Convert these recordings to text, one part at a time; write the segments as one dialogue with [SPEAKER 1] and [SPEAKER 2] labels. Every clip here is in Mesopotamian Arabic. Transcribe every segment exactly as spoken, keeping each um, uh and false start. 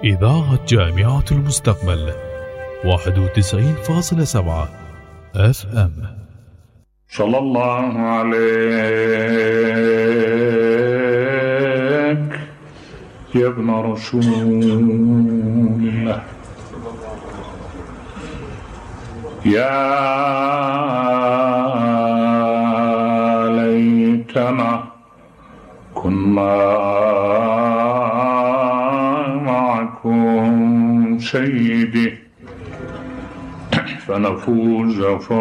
[SPEAKER 1] إذاعة جامعة المستقبل واحد وتسعين فاصلة سبعة اف ام.
[SPEAKER 2] صلى الله عليك يا ابن رسول الله، يا ليتنا كنا معكم سيدي فنفوز فوزا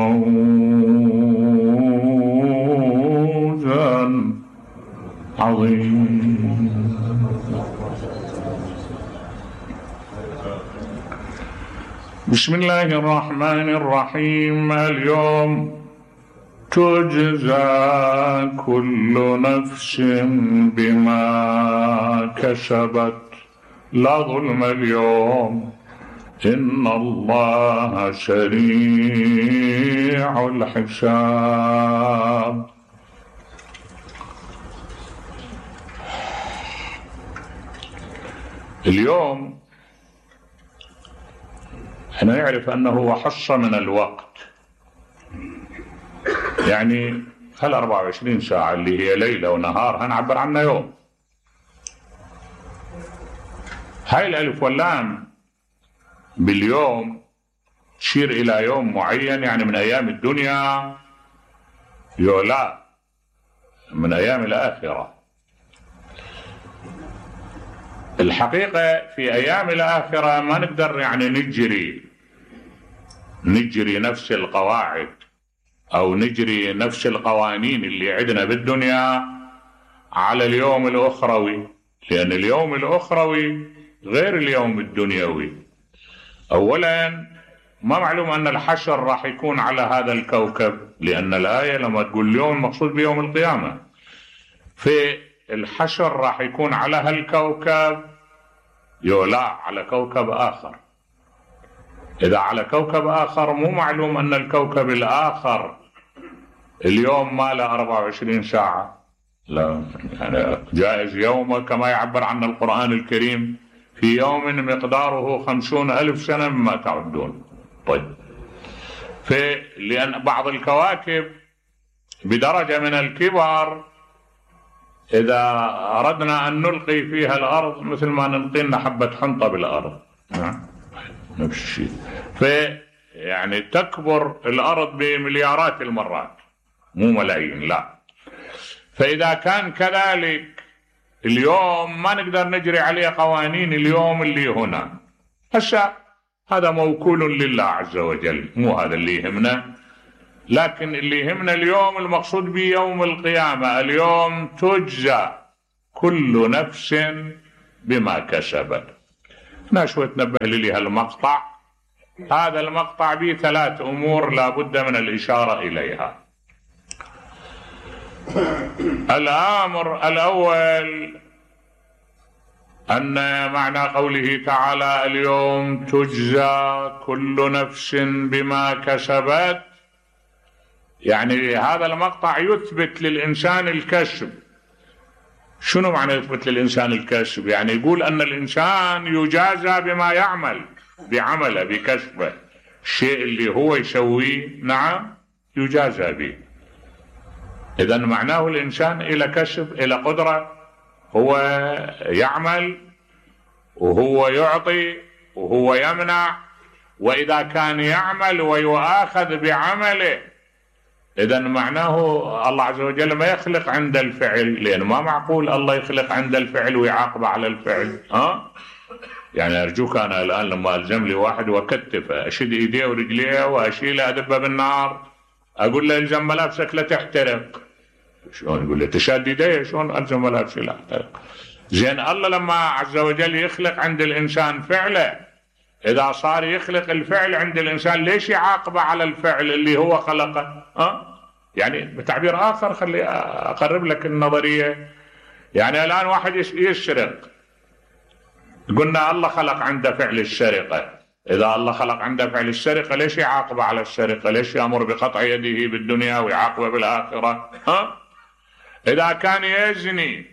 [SPEAKER 2] عظيما. بسم الله الرحمن الرحيم. اليوم تجزى كل نفس بما كسبت، لا ظلم اليوم، إن الله سريع الحساب. اليوم احنا نعرف أنه حصة من الوقت، يعني هل أربعة وعشرين ساعة اللي هي ليلة ونهار هنعبر عنها يوم. هاي الألف واللام باليوم تشير إلى يوم معين، يعني من أيام الدنيا، يولا من أيام الآخرة. الحقيقة في أيام الآخرة ما نقدر يعني نجري نجري نفس القواعد أو نجري نفس القوانين اللي عندنا بالدنيا على اليوم الأخروي، لأن اليوم الأخروي غير اليوم الدنيوي. أولا ما معلوم أن الحشر راح يكون على هذا الكوكب، لأن الآية لما تقول اليوم المقصود بيوم القيامة، في الحشر راح يكون على هالكوكب يولا على كوكب آخر. إذا على كوكب آخر مو معلوم أن الكوكب الآخر اليوم ما له أربعة وعشرين ساعة، لا، يعني جائز يوم كما يعبر عنه القرآن الكريم في يوم مقداره خمسون ألف سنة مما تعدون. طيب، في لأن بعض الكواكب بدرجة من الكبر إذا أردنا أن نلقي فيها الأرض مثل ما نلقي لنا حبة حنطة بالأرض، نفس الشيء. في يعني تكبر الأرض بمليارات المرات مو ملايين، لا. فإذا كان كذلك اليوم ما نقدر نجري عليه قوانين اليوم اللي هنا. هسه هذا موكول لله عز وجل، مو هذا اللي يهمنا، لكن اللي يهمنا اليوم المقصود به يوم القيامة. اليوم تجزى كل نفس بما كسبت. هنا شوي تنبه لي هالمقطع. هذا المقطع به ثلاث أمور لا بد من الإشارة إليها. الأمر الأول أن معنى قوله تعالى اليوم تجزى كل نفس بما كسبت، يعني هذا المقطع يثبت للإنسان الكسب. شنو معنى يثبت للإنسان الكسب؟ يعني يقول أن الإنسان يجازى بما يعمل، بعمله بكسبه، الشيء اللي هو يسويه نعم يجازى به. إذن معناه الإنسان إلى كسب، إلى قدرة، هو يعمل وهو يعطي وهو يمنع. وإذا كان يعمل ويؤاخذ بعمله، إذن معناه الله عز وجل ما يخلق عند الفعل، لأن ما معقول الله يخلق عند الفعل ويعاقب على الفعل. ها؟ يعني أرجوك أنا الآن لما ألزم لي واحد وأكتفه أشد إيديه ورجليه وأشيله أدبه بالنار، أقول له إلزم ملابسك لا تحترق. شلون يقول لي تشاد إيديه؟ شلون ألزم ملابسي لا تحترق؟ زين الله لما عز وجل يخلق عند الإنسان فعله، إذا صار يخلق الفعل عند الإنسان ليش يعاقبه على الفعل اللي هو خلقه؟ أه؟ يعني بتعبير آخر خلي أقرب لك النظرية. يعني الآن واحد يسرق، قلنا الله خلق عنده فعل السرقة، إذا الله خلق عنده فعل السرقة ليش يعاقبه على السرقة؟ ليش يأمر بقطع يده بالدنيا ويعاقبه بالآخرة؟ ها؟ إذا كان يزني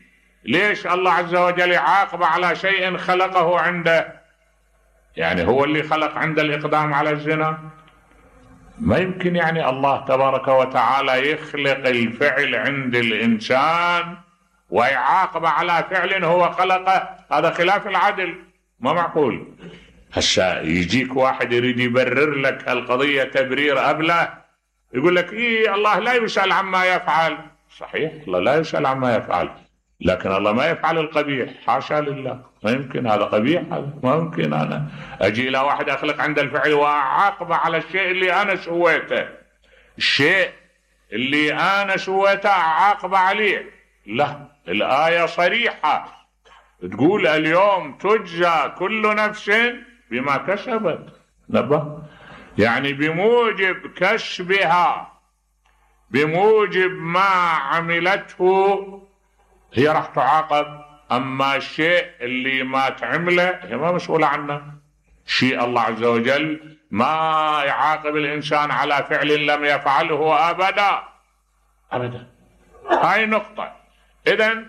[SPEAKER 2] ليش الله عز وجل يعاقب على شيء خلقه عنده؟ يعني هو اللي خلق عنده الإقدام على الزنا؟ ما يمكن يعني الله تبارك وتعالى يخلق الفعل عند الإنسان ويعاقب على فعل هو خلقه، هذا خلاف العدل، ما معقول. هسا يجيك واحد يريد يبرر لك القضية تبرير أبله، يقول لك إيه الله لا يسأل عما يفعل. صحيح الله لا يسأل عما يفعل، لكن الله ما يفعل القبيح، حاشا لله، ما يمكن هذا قبيح، هذا ما يمكن أنا أجي إلى واحد أخلق عند الفعل وأعاقب على الشيء اللي أنا سويته، الشيء اللي أنا سويته أعاقب عليه. لا، الآية صريحة تقول اليوم تجزى كل نفس بما كسبت. نبه يعني بموجب كسبها، بموجب ما عملته هي راح تعاقب. أما الشيء اللي ما تعمله هي ما مسؤولة عنه. شيء الله عز وجل ما يعاقب الإنسان على فعل لم يفعله أبدا أبدا. هاي نقطة. إذن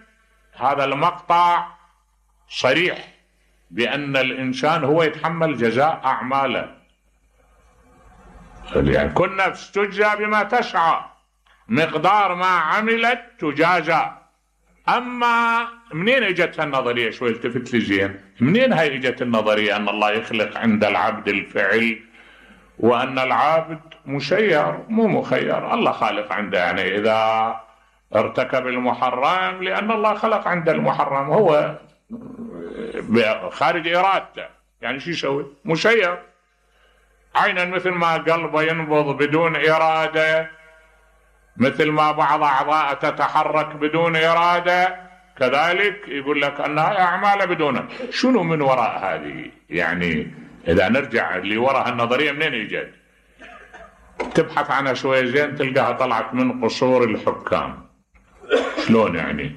[SPEAKER 2] هذا المقطع صريح بأن الإنسان هو يتحمل جزاء أعماله، يعني كل نفس تجزى بما تسعى، مقدار ما عملت تجازى. أما منين اجت النظرية؟ شوي التفت لي زين، منين هاي اجت النظرية أن الله يخلق عند العبد الفعل وأن العبد مسير مو مخير؟ الله خالق عنده، يعني إذا ارتكب المحرم لأن الله خلق عنده المحرم، هو خارج إرادته، يعني شو يسوي؟ مسير. عينا مثل ما قلبه ينبض بدون إرادة، مثل ما بعض أعضاء تتحرك بدون إرادة، كذلك يقول لك أنها أعمال بدون. شنو من وراء هذه؟ يعني إذا نرجع لوراء النظرية منين يجد؟ تبحث عنها شوية زين تلقاها طلعت من قصور الحكام. شلون يعني؟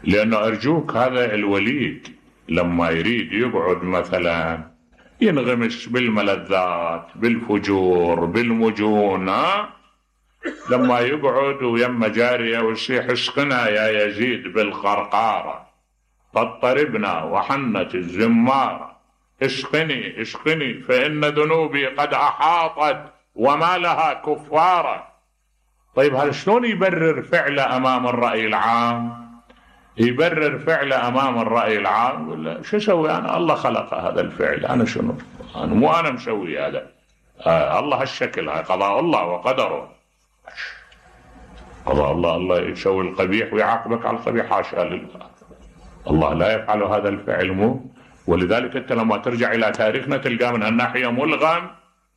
[SPEAKER 2] لأنه أرجوك هذا الوليد لما يريد يقعد مثلا ينغمس بالملذات بالفجور بالمجون، لما يقعد ويما جارية ويصيح اسقنا يا يزيد بالخرقارة فاضطربنا وحنت الزمارة، اسقني اسقني فإن ذنوبي قد أحاطت وما لها كفارة. طيب هذا شلون يبرر فعله أمام الرأي العام؟ يبرر فعله أمام الرأي العام ولا شو اسوي أنا؟ الله خلق هذا الفعل، أنا شنو؟ أنا مو أنا مسوي هذا، آه الله هالشكل، هاي قضاء الله وقدره. قضاء الله، الله يسوي القبيح ويعاقبك على القبيح، حاشا لله، الله لا يفعل هذا الفعل مو. ولذلك أنت لما ترجع إلى تاريخنا تلقى من الناحية ملغم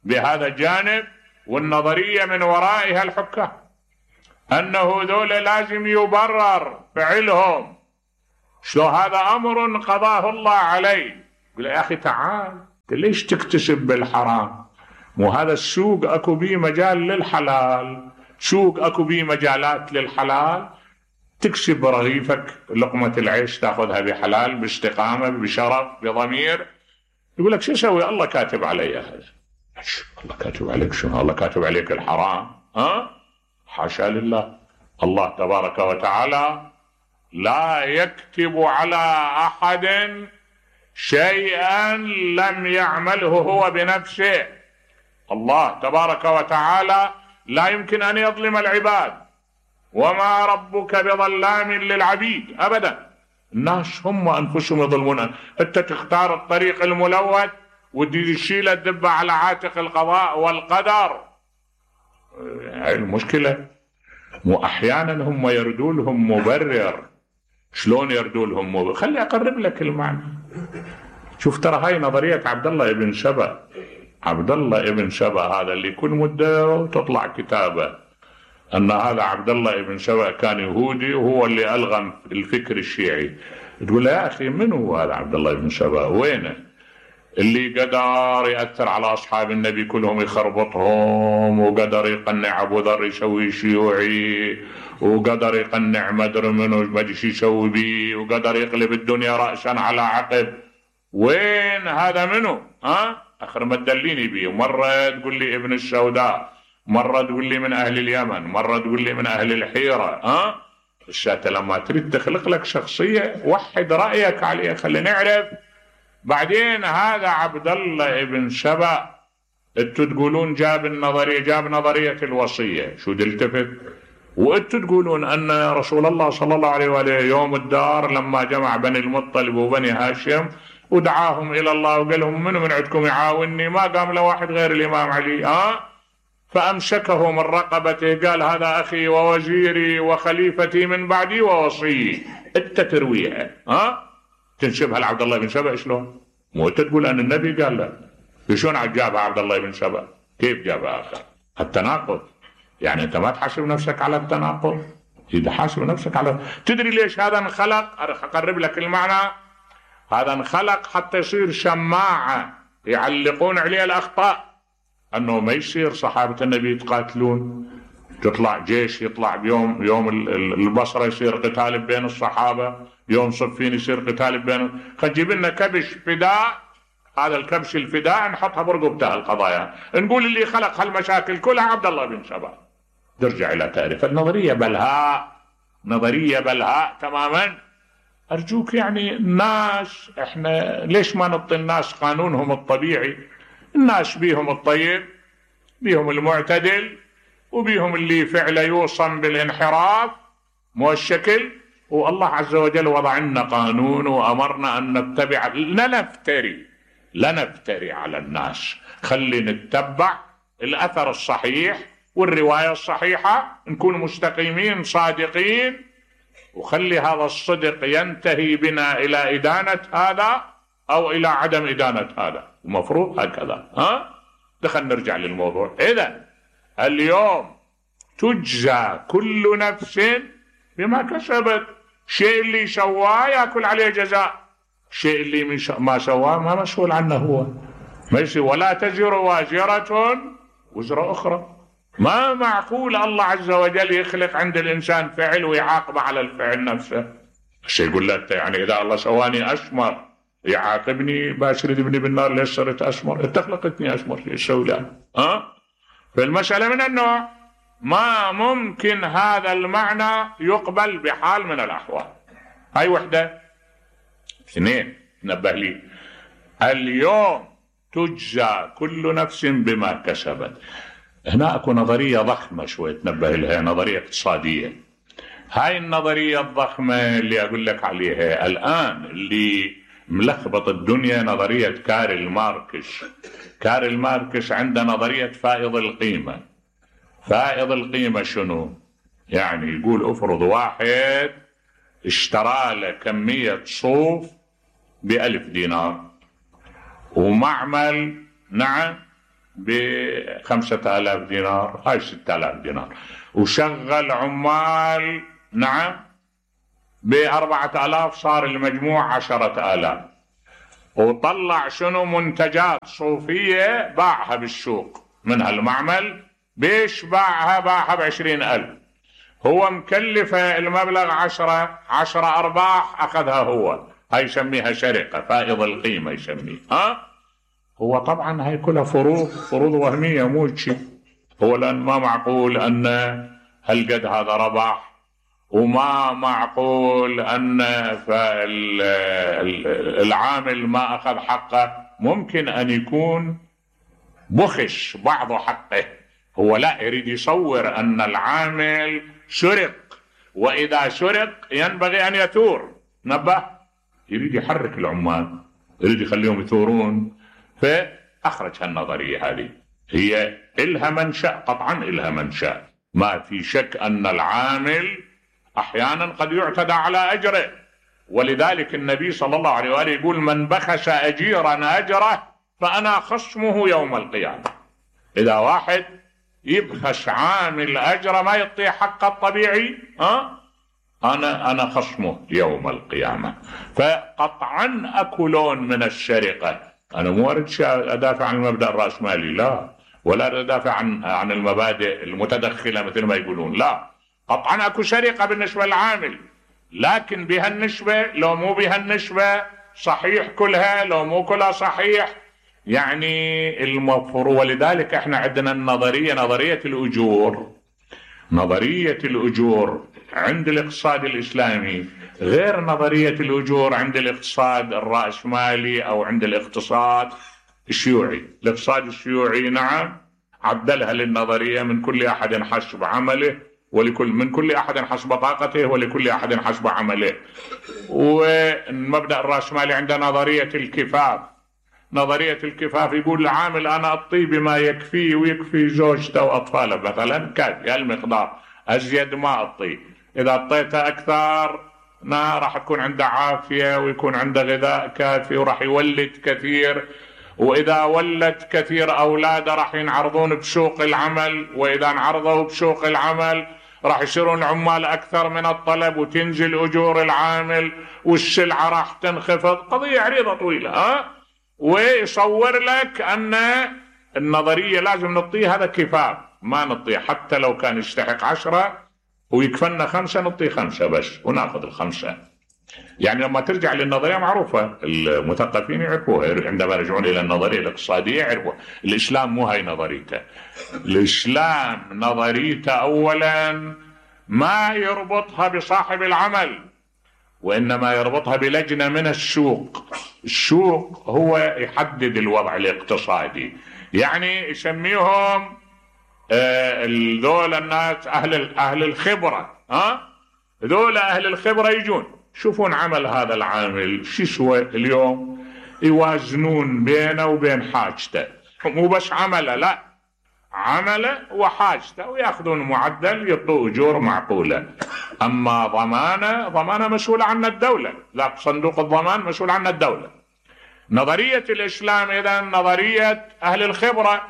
[SPEAKER 2] بهذا الجانب، والنظرية من ورائها الحكام أنه ذول لازم يبرر فعلهم. شو هذا أمر قضاه الله عليه. يقول يا أخي تعال، ليش تكتسب بالحرام؟ مو هذا السوق أكو بيه مجال للحلال، سوق أكو بيه مجالات للحلال، تكسب رغيفك لقمة العيش تأخذها بحلال باستقامة بشرف بضمير. يقول لك شو اسوي؟ الله كاتب علي هذا. الله كاتب عليك شنو؟ الله كاتب عليك الحرام؟ ها؟ حاشا لله، الله تبارك وتعالى لا يكتب على أحد شيئا لم يعمله هو بنفسه. الله تبارك وتعالى لا يمكن أن يظلم العباد، وما ربك بظلام للعبيد أبدا. الناس هم أنفسهم يظلمون. أنت تختار الطريق الملوث وتشيل الدبة على عاتق القضاء والقدر. هاي المشكلة. وأحيانا هم يردوا لهم مبرر. شلون يردوا لهم مبرر؟ خلي أقرب لك المعنى. شوف ترى هاي نظرية عبد الله ابن سبأ. عبد الله ابن سبأ هذا اللي كل مدة تطلع كتابه أن هذا عبد الله ابن سبأ كان يهودي وهو اللي ألغم الفكر الشيعي. تقول يا أخي من هو هذا عبد الله ابن سبأ؟ وينه؟ اللي قدر يأثر على أصحاب النبي كلهم يخربطهم، وقدر يقنع أبو ذر يسوي شيوعي، وقدر يقنع مدر منه ما ادري شو يسوي بيه، وقدر يقلب الدنيا رأسا على عقب. وين هذا منه؟ ها؟ آخر ما تدليني بيه. مرة تقول لي ابن السوداء، مرة تقول لي من أهل اليمن، مرة تقول لي من أهل الحيرة. ها؟ الشات لما تريد تخلق لك شخصية وحد رأيك عليها، خلينا نعرف. بعدين هذا عبد الله ابن سبأ انتوا تقولون جاب النظرية، جاب نظرية الوصية، شو دلتفت؟ وانتوا تقولون ان رسول الله صلى الله عليه وآله يوم الدار لما جمع بني المطلب وبني هاشم ودعاهم الى الله وقال لهم منو من عندكم يعاونني، ما قام له واحد غير الامام علي، اه فامسكه من رقبته قال هذا اخي ووزيري وخليفتي من بعدي ووصيي. انت ترويها ها تنسبها لعبد الله بن سبأ، شلون؟ مو انت تقول ان النبي قال لا، شلون جابها عبد الله بن سبأ؟ كيف جابها اخر؟ التناقض. يعني انت ما تحاسب نفسك على التناقض، اذا حاسب نفسك على. تدري ليش هذا انخلق؟ اقرب لك المعنى. هذا انخلق حتى يصير شماعة يعلقون عليه الاخطاء، انه ما يصير صحابة النبي يتقاتلون، تطلع جيش يطلع بيوم يوم البصرة يصير قتال بين الصحابة، يوم صفين يصير قتال بين، خنجيب لنا كبش فداء، هذا الكبش الفداء نحطها برقبتها القضايا، نقول اللي خلق هالمشاكل كلها عبد الله بن سبأ. ترجع الى تعرف النظرية بلهاء، نظرية بلهاء تماما. ارجوك يعني الناس احنا ليش ما نعطي الناس قانونهم الطبيعي؟ الناس بيهم الطيب، بيهم المعتدل، وبيهم اللي فعله يوصم بالانحراف مو الشكل. والله عز وجل وضع لنا قانون وامرنا ان نتبع، لا نفتري لا نفتري على الناس، خلي نتبع الاثر الصحيح والرواية الصحيحة، نكون مستقيمين صادقين، وخلي هذا الصدق ينتهي بنا الى ادانة هذا او الى عدم ادانة هذا، المفروض هكذا. ها دخل نرجع للموضوع. اذا اليوم تجزى كل نفس بما كسبت، شيء اللي سواه ياكل عليه جزاء، شيء اللي ما سواه ما مسؤول عنه هو، ماشي. ولا تزر وازرة وزر اخرى. ما معقول الله عز وجل يخلق عند الانسان فعل ويعاقب على الفعل نفسه. الشيء يقول لك يعني اذا الله سواني اسمر يعاقبني باشر ابني بالنار ليش صرت اسمر؟ انت خلقتني اسمر شو اسوي له؟ ها؟ فالمسألة من النوع ما ممكن هذا المعنى يقبل بحال من الاحوال. هاي وحدة. اثنين، نبه لي، اليوم تجزى كل نفس بما كسبت. هنا اكو نظرية ضخمة شوي تنبه لها، نظرية اقتصادية. هاي النظرية الضخمة اللي اقول لك عليها الان اللي ملخبط الدنيا نظرية كارل ماركس. كارل ماركس عنده نظرية فائض القيمة. فائض القيمة شنو؟ يعني يقول افرض واحد اشترى له كمية صوف بألف دينار ومعمل نعم بخمسة آلاف دينار، هاي ستة آلاف دينار، وشغل عمال نعم بأربعة آلاف، صار المجموع عشرة آلاف، وطلع شنو منتجات صوفية باعها بالسوق من هالمعمل. بيش باعها؟ باعها بعشرين ألف. هو مكلفة المبلغ عشرة عشرة أرباح أخذها هو. هاي يسميها شركة، فائض القيمة يسميه. ها هو طبعا هاي كلها فروض، فروض وهمية مو شيء. هو لأن ما معقول أن هالقد هذا ربح، وما معقول أن العامل ما أخذ حقه. ممكن أن يكون بخش بعض حقه، هو لا يريد يصور أن العامل سرق، وإذا سرق ينبغي أن يثور. نبه، يريد يحرك العمال، يريد يخليهم يثورون، فأخرج هالنظرية هذه. هي إلها منشأ، قطعا إلها منشأ، ما في شك أن العامل أحيانا قد يعتدى على أجره، ولذلك النبي صلى الله عليه وآله يقول من بخس أجيرا أجره فأنا خصمه يوم القيامة. إذا واحد يبخس عامل أجره ما يعطيه حقه الطبيعي، ها أنا أنا خصمه يوم القيامة. فقطعا أكو لون من السرقة. أنا مو أريد أدافع عن المبدأ الرأسمالي، لا، ولا أدافع عن عن المبادئ المتدخلة مثل ما يقولون، لا، قطعا أكو سرقة بالنسبة للعامل، لكن بهالنسبة لو مو بهالنسبة، صحيح كلها لو مو كلها صحيح، يعني المفروض. ولذلك احنا عندنا النظرية، نظرية الأجور. نظرية الأجور عند الاقتصاد الإسلامي غير نظرية الأجور عند الاقتصاد الرأسمالي أو عند الاقتصاد الشيوعي. الاقتصاد الشيوعي نعم عدلها للنظرية من كل أحد حسب عمله ولكل من كل أحد حسب طاقته ولكل أحد حسب عمله. والمبدأ الرأسمالي عند نظرية الكفاف. نظرية الكفاف يقول العامل أنا أعطيه بما يكفيه ويكفي زوجته وأطفاله مثلا، كافي هالمقدار، أزيد ما أعطيه. إذا أعطيته أكثر ما راح تكون عنده عافية ويكون عنده غذاء كافي وراح يولد كثير، وإذا ولد كثير أولاده راح ينعرضون بسوق العمل، وإذا انعرضوا بسوق العمل راح يصيرون العمال أكثر من الطلب وتنزل أجور العامل والسلعة راح تنخفض. قضية عريضة طويلة ها. ويصور لك أن النظرية لازم نعطيه هذا كفاف، ما نعطيه حتى لو كان يستحق عشرة ويكفلنا خمسة نعطيه خمسة بس وناخذ الخمسة. يعني لما ترجع للنظرية معروفة المثقفين يعرفوها، عندما يرجعون إلى النظرية الاقتصادية يعرفوها. الإسلام مو هاي نظريته. الإسلام نظريته أولا ما يربطها بصاحب العمل، وإنما يربطها بلجنة من السوق. السوق هو يحدد الوضع الاقتصادي، يعني يسميهم آه ذول الناس أهل أهل الخبرة. ها ذول أهل الخبرة يجون شوفون عمل هذا العامل شو يسوى اليوم، يوازنون بينه وبين حاجته، مو بس عمله، لا عمله وحاجته، ويأخذون معدل يعطوا أجور معقولة. أما ضمانة ضمانة مسؤولة عنها الدولة، لا صندوق الضمان مسؤول عنها الدولة. نظرية الإسلام إذن نظرية أهل الخبرة،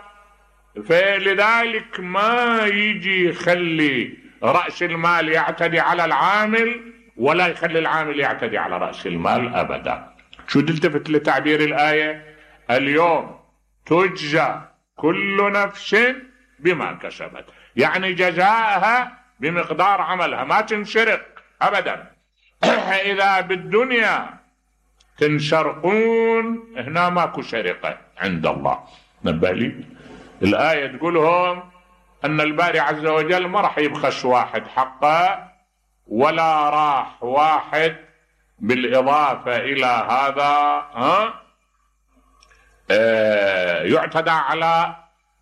[SPEAKER 2] فلذلك ما يجي يخلي رأس المال يعتدي على العامل ولا يخلي العامل يعتدي على رأس المال أبدا. شو تلتفت لتعبير الآية اليوم تجزى كل نفس بما كسبت، يعني جزاءها بمقدار عملها، ما تنسرق أبدا. إذا بالدنيا تنسرقون هنا ماكو سرقة عند الله. نبه لي الآية تقولهم أن الباري عز وجل ما راح يبخس واحد حقه ولا راح واحد بالإضافة إلى هذا ها آه يعتدى على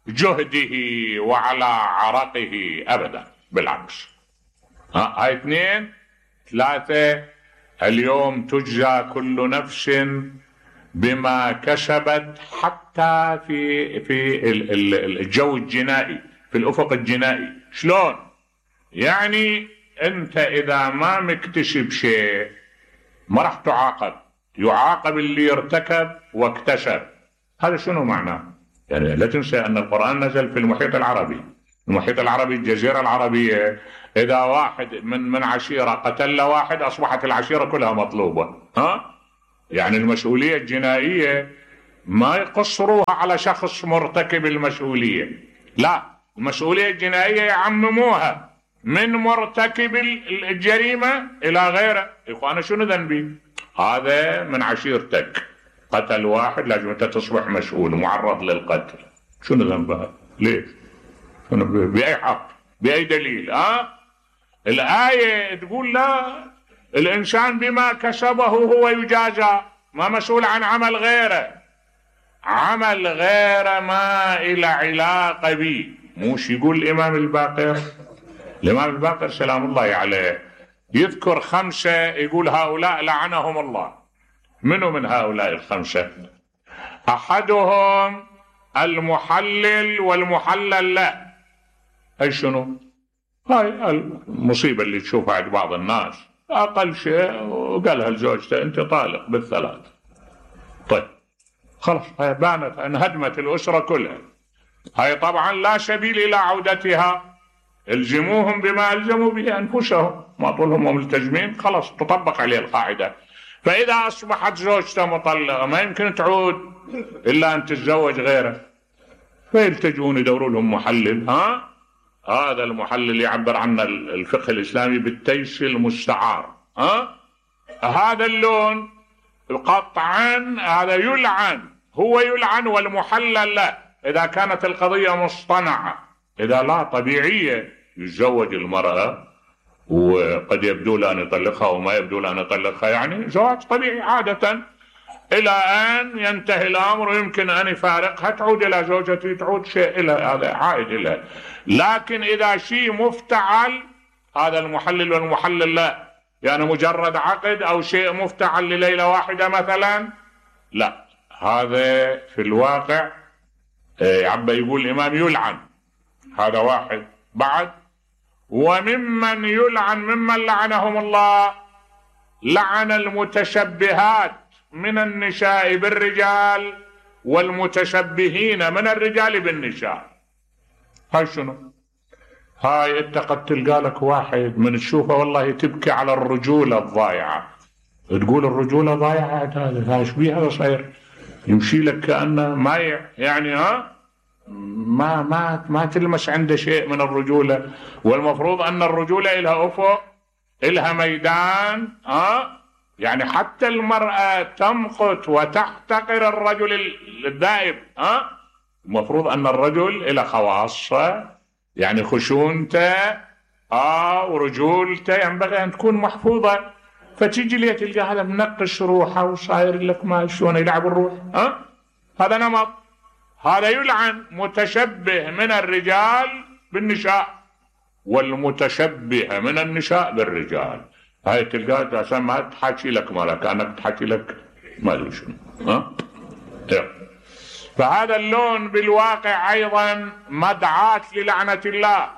[SPEAKER 2] جهده وعلى عرقه أبدا، بالعكس. ها هاي اثنين. ثلاثة اليوم تجزى كل نفس بما كسبت، حتى في في الجو الجنائي، في الأفق الجنائي. شلون؟ يعني أنت إذا ما مكتشف شيء ما راح تعاقب، يعاقب اللي ارتكب واكتشف. هذا شنو معناه؟ يعني لا تنسى أن القرآن نزل في المحيط العربي. المحيط العربي الجزيرة العربية، إذا واحد من من عشيرة قتل واحد أصبحت العشيرة كلها مطلوبة. ها؟ يعني المسؤولية الجنائية ما يقصروها على شخص مرتكب المسؤولية، لا، المسؤولية الجنائية يعمموها من مرتكب الجريمة إلى غيره. يقول أنا شنو ذنبي؟ هذا من عشيرتك قتل واحد، لازم أنت تصبح مسؤول معرض للقتل. شنو ذنبها؟ ليش؟ بأي حق؟ بأي دليل؟ ها؟ الآية تقول لا، الإنسان بما كسبه هو يجازى، ما مسؤول عن عمل غيره. عمل غيره ما إلى علاقة به. موش يقول الإمام الباقر، الإمام الباقر سلام الله عليه يذكر خمسة، يقول هؤلاء لعنهم الله. منو من هؤلاء الخمسة؟ أحدهم المحلل والمحلل له. أي شنو؟ هاي المصيبة اللي تشوفها عند بعض الناس، أقل شيء وقالها لزوجته أنت طالق بالثلاث. طيب خلاص هاي بانت، انهدمت الأسرة كلها. هاي طبعا لا سبيل إلى عودتها. الزموهم بما ألزموا به أنفسهم، ما طولهم ملتزمين، خلاص تطبق عليه القاعدة. فإذا أصبحت زوجته مطلقة ما يمكن تعود إلا أن تتزوج غيره، فيلتجون يدوروا لهم محلل. ها هذا المحلل يعبر عنه الفقه الإسلامي بالتيس المستعار. ها هذا اللون قطعا هذا يلعن، هو يلعن والمحلل لا. إذا كانت القضية مصطنعة، إذا لا طبيعية، يتزوج المرأة وقد يبدو له أن يطلقها وما يبدو له أن يطلقها، يعني زواج طبيعي عادة، إلى أن ينتهي الأمر ويمكن أن يفارقها، تعود إلى زوجته، تعود شيء إلى هذا عائد إلى. لكن إذا شيء مفتعل، هذا المحلل والمحلل لا، يعني مجرد عقد أو شيء مفتعل لليلة واحدة مثلا، لا، هذا في الواقع عبا يقول الإمام يلعن. هذا واحد. بعد، وممن يلعن ممن لعنهم الله لعن المتشبهات من النساء بالرجال والمتشبهين من الرجال بالنساء. هاي شنو؟ هاي انت قد تلقى لك واحد من تشوفه والله تبكي على الرجولة الضايعة، تقول الرجولة ضايعة، هذا ايش بيه هذا صاير؟ يمشي لك كأنه مايع، يعني ها ما ما ما تلمس عنده شيء من الرجولة. والمفروض أن الرجولة إلها أفق، إلها ميدان، ها يعني حتى المرأة تمقت وتحتقر الرجل الدائب، ها المفروض أن الرجل إلى خواصة، يعني خشونته آه ورجولته ينبغي أن تكون محفوظة. فتيجي لي تلقى هذا منقش روحه وصاير لك ما شلون يلعب الروح، ها هذا نمط. هذا يلعن متشبه من الرجال بالنساء والمتشبه من النساء بالرجال. هاي تلقى عشان ما تحكي لك مالا، كأنك تحكي لك ما ادري شنو، ها فهذا اللون بالواقع أيضا مدعاة للعنة الله،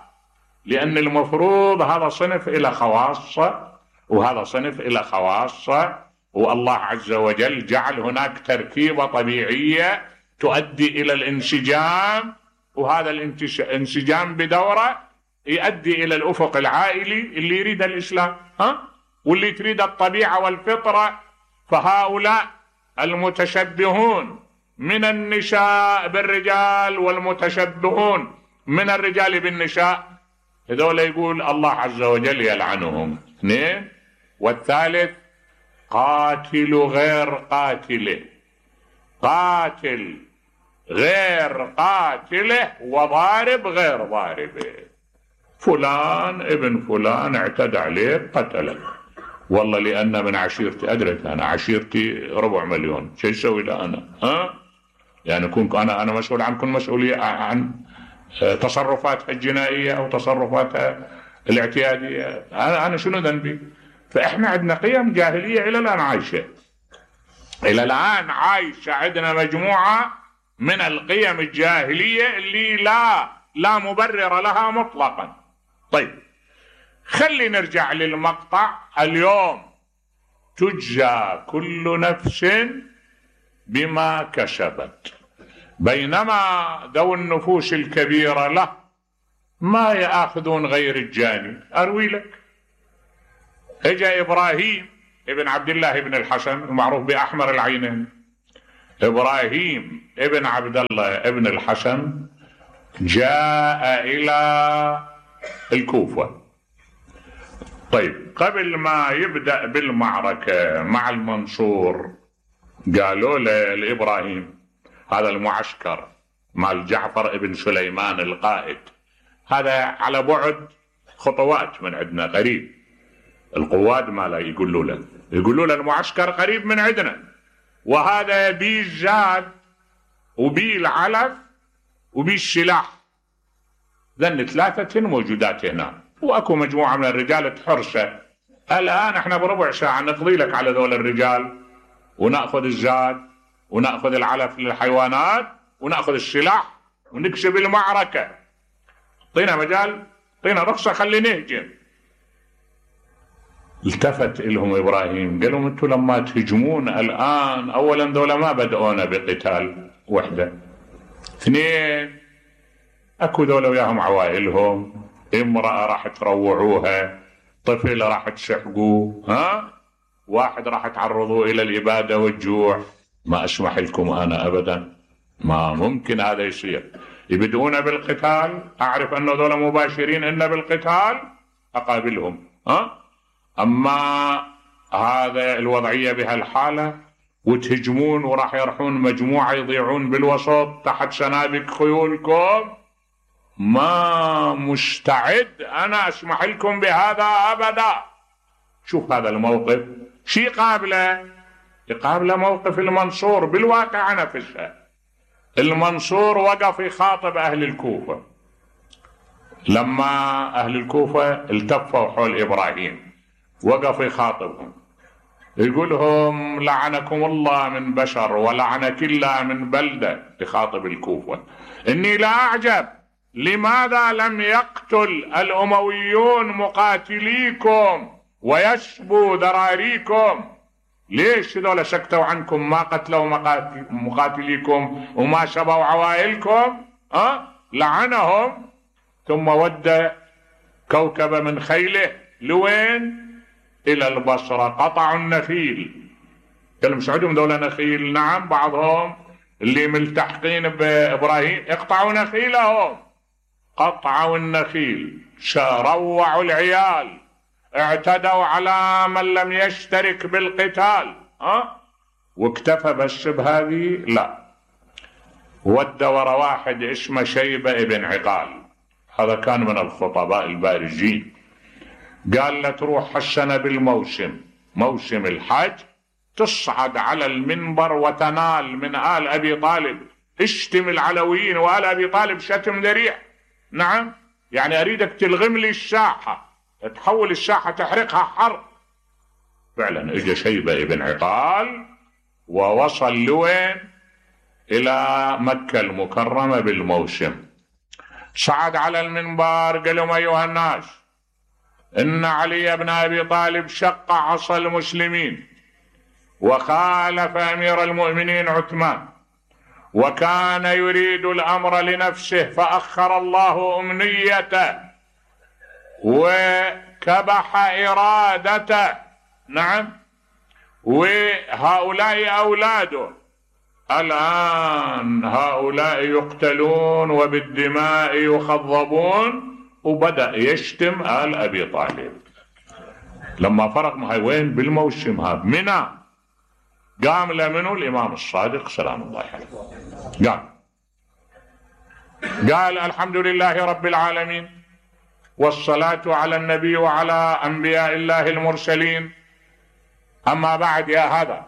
[SPEAKER 2] لأن المفروض هذا صنف إلى خواصة وهذا صنف إلى خواصة، والله عز وجل جعل هناك تركيبة طبيعية تؤدي إلى الانسجام، وهذا الانسجام بدورة يؤدي إلى الأفق العائلي اللي يريد الإسلام، ها واللي تريد الطبيعة والفطرة. فهؤلاء المتشبهون من النساء بالرجال والمتشبهون من الرجال بالنساء، هذول يقول الله عز وجل يلعنهم. اثنين. والثالث قاتل غير قاتله، قاتل غير قاتله وضارب غير ضاربه. فلان ابن فلان اعتدى عليك قتلك، والله لأن من عشيرتي، أدرك أنا عشيرتي ربع مليون، شو يسوي له أنا؟ ها؟ يعني كنت أنا أنا مسؤول عن كل مسؤولية عن تصرفاتها الجنائية أو تصرفاتها الاعتيادية، أنا أنا شنو ذنبي؟ فإحنا عندنا قيم جاهلية إلى الآن عايشة، إلى الآن عايشة عندنا مجموعة من القيم الجاهلية اللي لا لا مبرر لها مطلقا. طيب خلي نرجع للمقطع. اليوم تجزى كل نفس بما كسبت، بينما ذو النفوس الكبيرة له ما يأخذون غير الجاني. أروي لك، اجا إبراهيم ابن عبد الله ابن الحسن المعروف بأحمر العينين، إبراهيم ابن عبد الله ابن الحسن جاء إلى الكوفة. طيب قبل ما يبدأ بالمعركة مع المنصور قالوا له لإبراهيم، هذا المعسكر مال جعفر ابن سليمان القائد، هذا على بعد خطوات من عندنا قريب، القواد ما لا يقولوا له يقولوا له المعسكر قريب من عندنا، وهذا بيه الزاد وبيه العلف وبيه السلاح، ذن ثلاثة موجودات هنا، واكو مجموعة من الرجال تحرسه. الآن احنا بربع ساعة نقضي لك على ذول الرجال ونأخذ الزاد ونأخذ العلف للحيوانات ونأخذ السلاح ونكسب المعركة، طينا مجال، طينا رخصة، خلي نهجم. التفت لهم إبراهيم قال لهم انتم لما تهجمون الآن، أولا ذولا ما بدأونا بقتال وحدة، اثنين اكو ذولا وياهم عوائلهم، امرأة راح تروعوها، طفل راح تسحقوه، ها واحد راح تعرضوه إلى الإبادة والجوع، ما أسمح لكم أنا أبدا، ما ممكن هذا يصير. يبدؤون بالقتال، أعرف أنه ذولا مباشرين إن بالقتال أقابلهم، ها أما هذا الوضعية بهالحالة وتهجمون وراح يرحون مجموعة يضيعون بالوسط تحت سنابك خيولكم، ما مستعد أنا أسمح لكم بهذا أبدا. شوف هذا الموقف شي قابله يقابله موقف المنصور بالواقع نفسه. المنصور وقف يخاطب أهل الكوفة لما أهل الكوفة التفوا حول إبراهيم، وقف يخاطبهم يقولهم لعنكم الله من بشر ولعنك الله من بلدة. يخاطب الكوفة إني لا أعجب لماذا لم يقتل الأمويون مقاتليكم ويشبوا ذراريكم؟ ليش هذول سكتوا عنكم ما قتلوا مقاتليكم وما شبوا عوائلكم؟ أه؟ لعنهم. ثم ود كوكب من خيله لوين؟ إلى البصرة. قطعوا النخيل. كلهم عندهم دولة نخيل؟ نعم، بعضهم اللي ملتحقين بإبراهيم يقطعوا نخيلهم. قطعوا النخيل، روعوا العيال، اعتدوا على من لم يشترك بالقتال. أه؟ واكتفى بس بهذه؟ لا، ود ورا واحد اسمه شيبة ابن عقال، هذا كان من الخطباء البارزين. قال له تروح السنة بالموسم، موسم الحج، تصعد على المنبر وتنال من آل أبي طالب، اشتم العلويين وآل أبي طالب شتم ذريع. نعم، يعني أريدك تلغم لي الساحة، تحول الساحة تحرقها حرق. فعلا اجى شيبة ابن عقال ووصل لوين؟ إلى مكة المكرمة بالموسم. صعد على المنبر قال لهم أيها الناس، إن علي بن أبي طالب شق عصا المسلمين وخالف أمير المؤمنين عثمان، وكان يريد الأمر لنفسه فأخر الله أمنيته وكبح إرادته. نعم، وهؤلاء أولاده الآن هؤلاء يقتلون وبالدماء يخضبون. وبدأ يشتم آل أبي طالب. لما فرق معه وين؟ بالموسم هذا منى. قام لمنه الإمام الصادق سلام الله عليه، قال قال الحمد لله رب العالمين والصلاة على النبي وعلى أنبياء الله المرسلين، أما بعد يا هذا،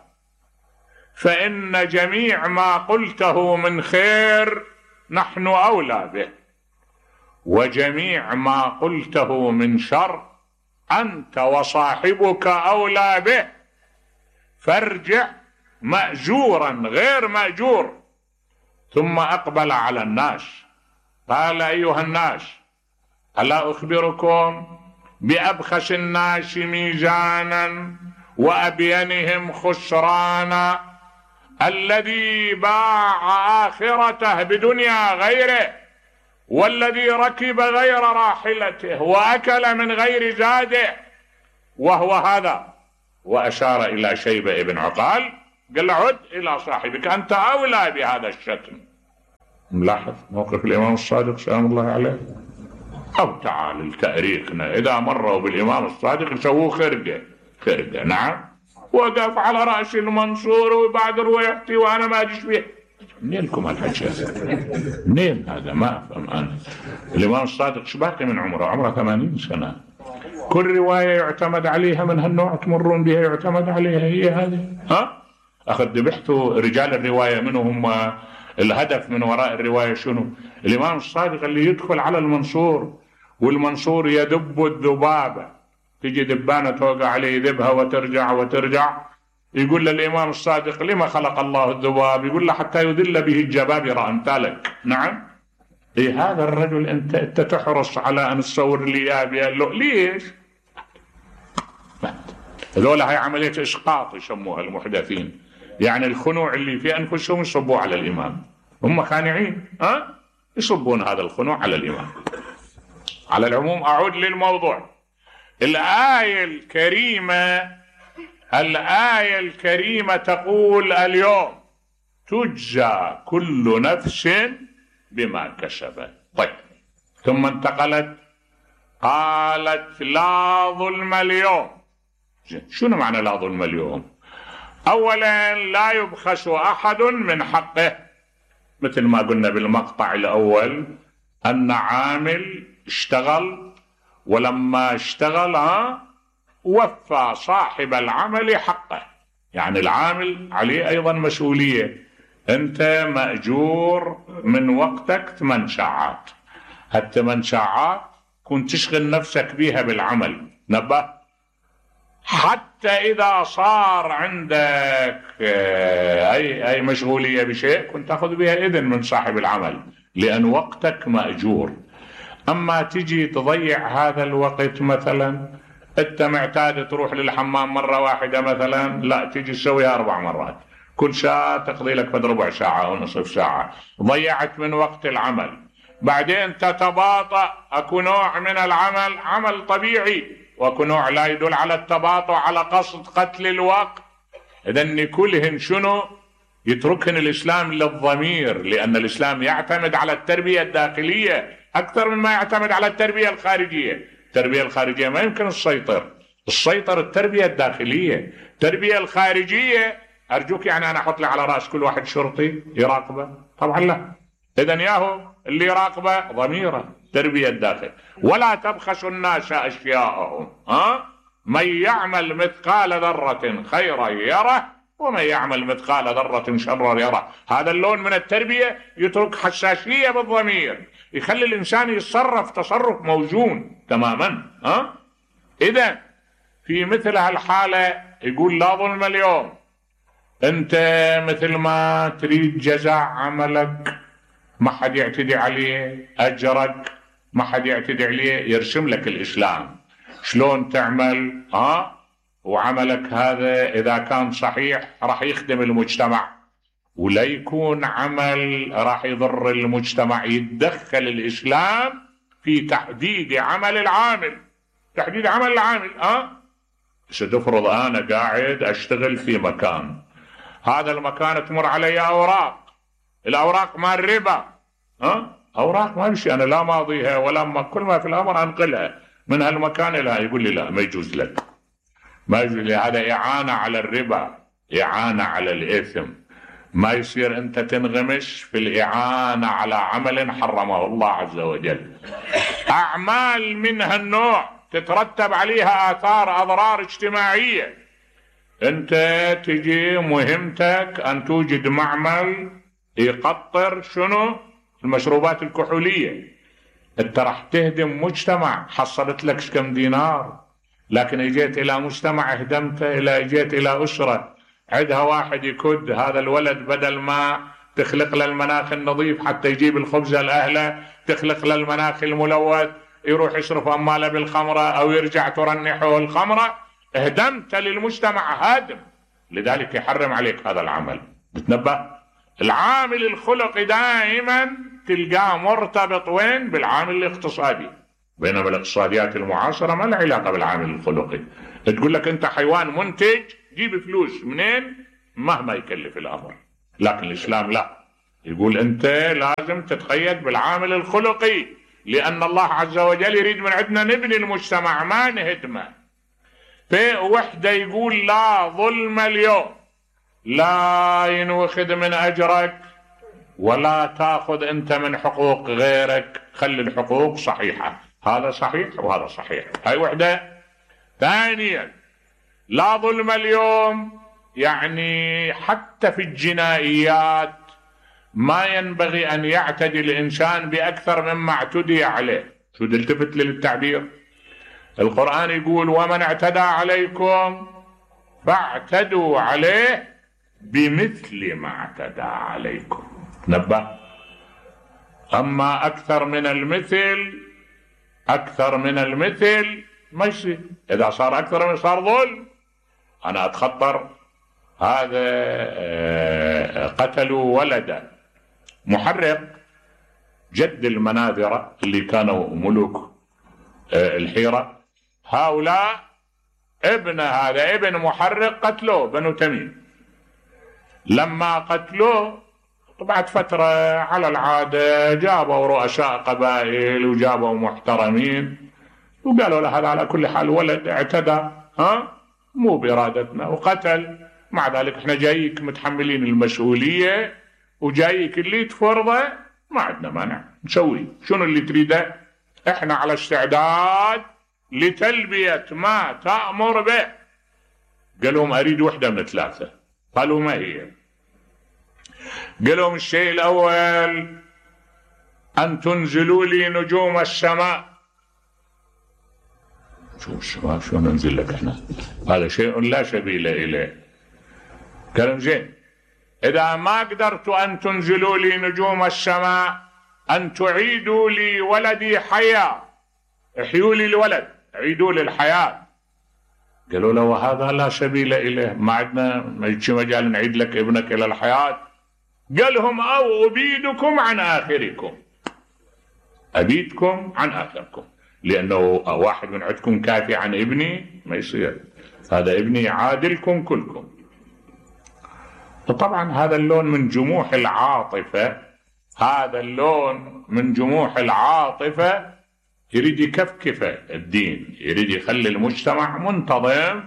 [SPEAKER 2] فإن جميع ما قلته من خير نحن أولى به، وجميع ما قلته من شر أنت وصاحبك أولى به، فارجع مأجورا غير مأجور. ثم أقبل على الناس قال أيها الناس، ألا أخبركم بأبخس الناس ميزانا وأبينهم خسرانا، الذي باع آخرته بدنيا غيره، والذي ركب غير راحلته وأكل من غير زاده، وهو هذا. وأشار إلى شيبة ابن عقال قال له عد إلى صاحبك، أنت أولى بهذا الشتم. ملاحظ موقف الإمام الصادق سلام الله عليه. أو تعال لتاريخنا، إذا مروا بالإمام الصادق يسووه خرقة خرقة. نعم، وقف على رأس المنصور وبعد روايتي وأنا ما أجيش به. منين لكم هالحكي؟ منين هذا؟ ما أفهم أنا. الإمام الصادق شباقي من عمره، عمره ثمانين سنة. كل رواية يعتمد عليها من هالنوع تمرون بها يعتمد عليها هي هذه. ها؟ أخذ ذبحتوا رجال الرواية منهم، الهدف من وراء الرواية شنو؟ الإمام الصادق اللي يدخل على المنصور والمنصور يدب الذبابة، تجي دبانة توقع عليه يذبها وترجع وترجع، يقول للإمام الصادق لما خلق الله الذباب؟ يقول له حتى يذل به الجبابرة أمثالك. نعم، إيه هذا الرجل أنت, أنت تحرص على أن تصور لي إياه؟ ليش؟ هذول هاي عملية إسقاط يسموها المحدثين، يعني الخنوع اللي في أنفسهم يصبوا على الإمام، هم خانعين ها؟ يصبون هذا الخنوع على الإمام. على العموم أعود للموضوع. الآية الكريمة الآية الكريمة تقول اليوم تجزى كل نفس بما كسبت. طيب، ثم انتقلت قالت لا ظلم اليوم. شنو معنى لا ظلم اليوم؟ أولا لا يبخس أحد من حقه، مثل ما قلنا بالمقطع الأول، أن عامل اشتغل، ولما اشتغل ها وفى صاحب العمل حقه. يعني العامل عليه أيضا مسؤولية. أنت مأجور من وقتك ثمان ساعات، هالثمان ساعات كنت تشغل نفسك بيها بالعمل. نبه، حتى إذا صار عندك أي أي مشغولية بشيء كنت تأخذ بها إذن من صاحب العمل، لأن وقتك مأجور. أما تجي تضيع هذا الوقت، مثلا أنت معتاد تروح للحمام مرة واحدة مثلا، لا تجي تسويها أربع مرات، كل ساعة تقضي لك فد ربع ساعة أو نصف ساعة، ضيعت من وقت العمل. بعدين تتباطأ، أكو نوع من العمل عمل طبيعي، وأكو نوع لا يدل على التباطؤ على قصد قتل الوقت. إذن كلهن شنو؟ يتركهن الإسلام للضمير، لأن الإسلام يعتمد على التربية الداخلية أكثر مما يعتمد على التربية الخارجية. التربية الخارجية ما يمكن السيطر، السيطر التربية الداخلية. التربية الخارجية أرجوك يعني أنا أحط لي على رأس كل واحد شرطي يراقبه؟ طبعا لا. إذن ياهو اللي يراقبه ضميره، تربية الداخل. ولا تبخسوا الناس أشياءهم، ها؟ من يعمل مثقال ذرة خيرا يره، ومن يعمل مثقال ذرة شرا يره. هذا اللون من التربية يترك حساسية بالضمير، يخلي الإنسان يتصرف تصرف موزون تماما. ها؟ إذا في مثل هالحالة يقول لا ظلم اليوم. أنت مثل ما تريد جزاء عملك ما حد يعتدي عليه، أجرك ما حد يعتدي عليه، يرسم لك الإسلام شلون تعمل. ها؟ وعملك هذا إذا كان صحيح راح يخدم المجتمع، ولا يكون عمل راح يضر المجتمع. يتدخل الإسلام في تحديد عمل العامل، تحديد عمل العامل. ها؟ ستفرض أنا قاعد أشتغل في مكان، هذا المكان تمر علي أوراق، الأوراق مال ربا. ها؟ أوراق ما بشي أنا لا ماضيها ولا ما، كل ما في الأمر أنقلها من هالمكان إلى، يقول لي لا ما يجوز لك، ما يجوز لي، هذا إعانة على الربا، إعانة على الإثم. ما يصير أنت تنغمش في الإعانة على عمل حرمه الله عز وجل. أعمال من هالنوع تترتب عليها آثار أضرار اجتماعية. أنت تجي مهمتك أن توجد معمل يقطر شنو؟ المشروبات الكحولية. أنت راح تهدم مجتمع حصلت لك كم دينار، لكن اجيت إلى مجتمع هدمته، إلى اجيت إلى أسرة عندها واحد يكد، هذا الولد بدل ما تخلق له المناخ النظيف حتى يجيب الخبز لأهله، تخلق له المناخ الملوث، يروح يصرف أماله بالخمرة أو يرجع ترنحه الخمرة. اهدمت للمجتمع هادم، لذلك يحرم عليك هذا العمل. بتنبه؟ العامل الخلقي دائما تلقاه مرتبط وين؟ بالعامل الاقتصادي. بينما الاقتصاديات المعاصرة ما لها علاقة بالعامل الخلقي. تقول لك أنت حيوان منتج جيب فلوس منين مهما يكلف الأمر، لكن الإسلام لا، يقول أنت لازم تتقيد بالعامل الخلقي، لأن الله عز وجل يريد من عندنا نبني المجتمع ما نهدمه. في وحدة يقول لا ظلم اليوم، لا ينوخذ من أجرك ولا تأخذ أنت من حقوق غيرك، خلي الحقوق صحيحة، هذا صحيح وهذا صحيح. هاي وحدة. ثانيا لا ظلم اليوم، يعني حتى في الجنائيات ما ينبغي أن يعتدي الإنسان بأكثر مما اعتدي عليه. شو تلتفت للتعبير؟ القرآن يقول ومن اعتدى عليكم فاعتدوا عليه بمثل ما اعتدى عليكم. نبه. أما أكثر من المثل، أكثر من المثل ما يصير. إذا صار أكثر من صار ظلم. أنا أتخطر هذا قتلوا ولدا محرق جد المناذرة اللي كانوا ملوك الحيرة، هؤلاء ابن هذا ابن محرق قتلوه بنو تميم. لما قتلوه بعد فترة على العادة جابوا رؤساء قبائل وجابوا محترمين وقالوا له هذا على كل حال ولد اعتدى، ها مو بإرادتنا وقتل، مع ذلك احنا جايك متحملين المسؤولية وجايك اللي تفرضه ما عندنا مانع نسوي شنو اللي تريده، احنا على استعداد لتلبية ما تأمر به. قال لهم اريد وحدة من ثلاثة. قالوا ما هي؟ قال لهم الشيء الاول ان تنزلوا لي نجوم السماء. شو السماء شو ننزل لك احنا؟ هذا شيء لا سبيل اليه. قال زين اذا ما قدرت ان تنزلوا لي نجوم السماء ان تعيدوا لي ولدي حيا، احيوا لي الولد، عيدوا لي الحياة. قالوا له وهذا لا سبيل اليه، ما عندنا مجال نعيد لك ابنك الى الحياة. قال لهم او ابيدكم عن اخركم، ابيدكم عن اخركم، لانه واحد من عندكم كافي عن ابني ما يصير، هذا ابني عادلكم كلكم. فطبعا هذا اللون من جموح العاطفة، هذا اللون من جموح العاطفة يريد يكفكف الدين، يريد يخلي المجتمع منتظم.